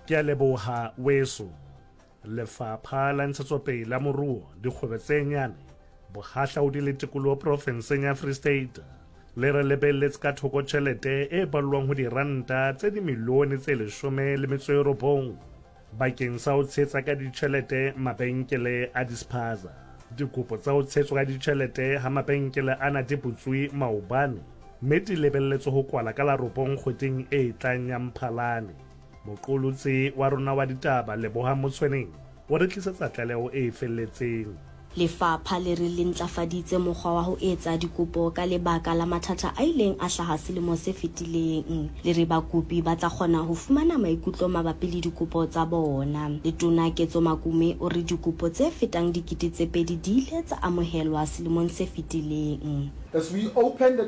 Ke a leboha weso. Lefapha la Ntshetsopele ya Moruo, Dikgwebo tse Nyane, Bohahlaudi le Tikoloho profenseng ya Free State le re lebelletse ka thoko tjhelete e ballwang ho diranta tse dimilione tse 19 bakeng sa ho tshehetsa ka ditjhelete mabenkele a dispaza. Dikopo tsa ho tshehetswa ka ditjhelete ha mabenkele ana di butswe maobane mme di lebelletswe ho kwala ka la robong kgweding e tlang ya Mphalane. Moqolotsi wa rona wa ditaba Lebohang Motshweneng o re tlisetsa tlaleho e felletseng. Lefapha le re le ntlafaditse mokgwa wa ho etsa dikopo ka lebaka la mathata a ileng a hlaha selemo se fetileng. Le re bakopi ba tla kgona ho fumana maikutlo mabapi le dikopo tsa bona. Letona Ketso Makume o re dikopo tse fetang 2000 di ile tsa amohelwa selemong se fetileng. As we open the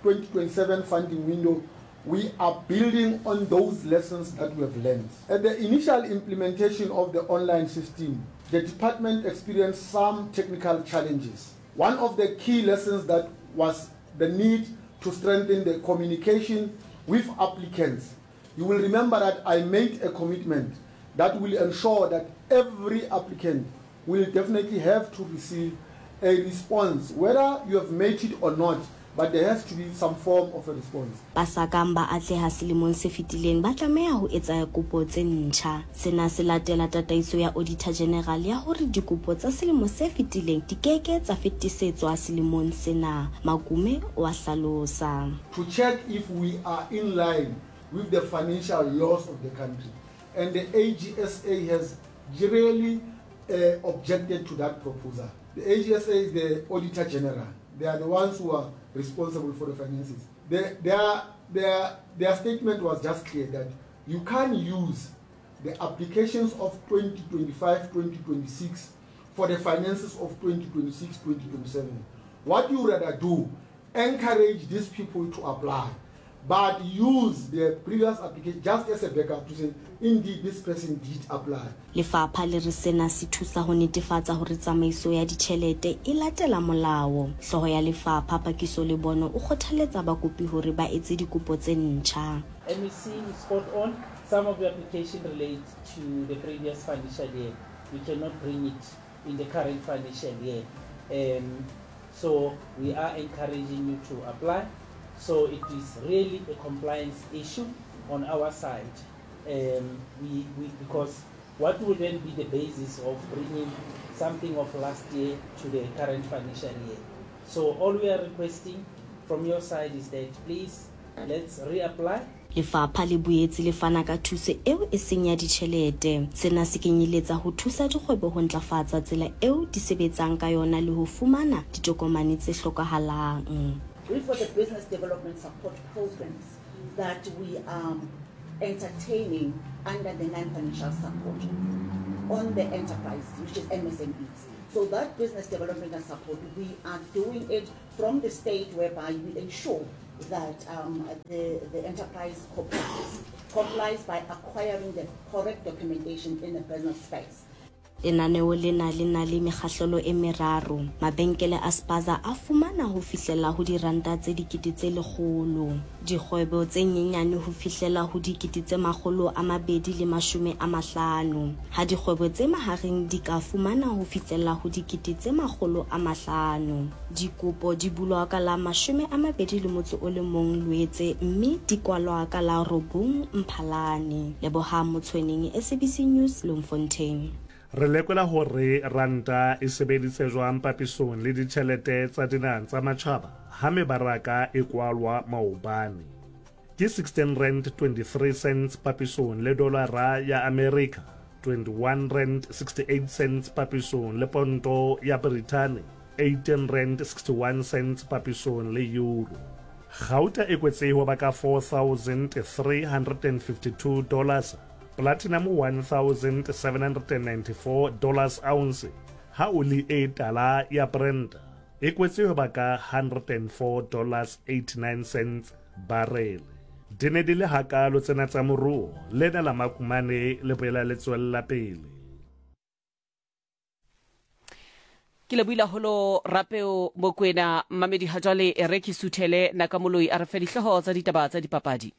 2026-2027 funding window, we are building on those lessons that we have learned. At the initial implementation of the online system, the department experienced some technical challenges. One of the key lessons that was the need to strengthen the communication with applicants. You will remember that I made a commitment that will ensure that every applicant will definitely have to receive a response, whether you have made it or not, but there has to be some form of a response. Ba sa kang ba atleha selemong se fetileng ba tlameha ho etsa kopo tse ntjha. Sena se latela tataiso ya Auditor General ya hore dikopo tsa selemo se fetileng di ke ke tsa fetisetswa selemong sena, Makume o a hlalosa. To check if we are in line with the financial laws of the country and the AGSA has really uh, objected to that proposal. The AGSA is the Auditor General. They are the ones who are responsible for the finances. The, their, their, their statement was just clear that you can't use the applications of 2025 2026 for the finances of 2026 2027. What you rather do, encourage these people to apply, but use the previous application just as a backup to say, indeed, this person did apply. Lefapha le re sena se thusa ho netefatsa hore tsamaiso ya ditjhelete e latela molao. Hlooho ya lefapha, Pakiso Lebono, o kgothaletsa bakopi hore ba etse dikopo tse ntjha. MEC is spot on, some of the application relate to the previous financial year, we cannot bring it in the current financial year. Um, so we are encouraging you to apply. So it is really a compliance issue on our side. Um, we, we, because what will then be the basis of bringing something of last year to the current financial year? So all we are requesting from your side is that please let's reapply. Lefapha le boetse le fana ka thuso eo e seng ya ditjhelete. Sena se kenyeletsa ho thusa dikgwebo ho ntlafatsa tsela eo di sebetsang ka yona le ho fumana ditokomane tse hlokahalang. We've got the business development support programs that we are entertaining under the non-financial support on the enterprise, which is MSMEs. So that business development and support, we are doing it from the state whereby we ensure that um, the, the enterprise complies, complies by acquiring the correct documentation in the business space. Lenaneo lena le na le mekgahlelo e meraro. Mabenkele a spaza a fumana ho fihlela ho diranta tse 100,000, dikgwebo tse nyenyane ho fihlela ho 250,000, ha dikgwebo tse mahareng di ka fumana ho fihlela ho 500,000. Dikopo di bulwa ka la 21 Loetse mme di kwalwa ka la 9 Mphalane. Lebohang Motshweneng, SABC News, Bloemfontein. Re lekola hore ranta e sebeditse jwang papisong le ditjhelete tsa dinaha tsa matjhaba ha mebaraka e kwalwa maobane. Ke R16.23 papisong le dolara ya Amerika, R21.68 papisong le ponto ya Brithani, R18.61 papisong le euro. Gauta e kwetse ho ba ka $4,352, platinum $1,794 ounce, ha oli e tala ya Brent e kwetse ho ba ka $104.89 barele. Di ne di le hakaalo tsena tsa moruo, lena la Makumane le boela le tswella pele. Ke lebohile haholo Rapeo Mokwena. Mmamedi ha jwale e re ke suthele Nakamoloi a re fe dihlooho tsa ditaba tsa dipapadi.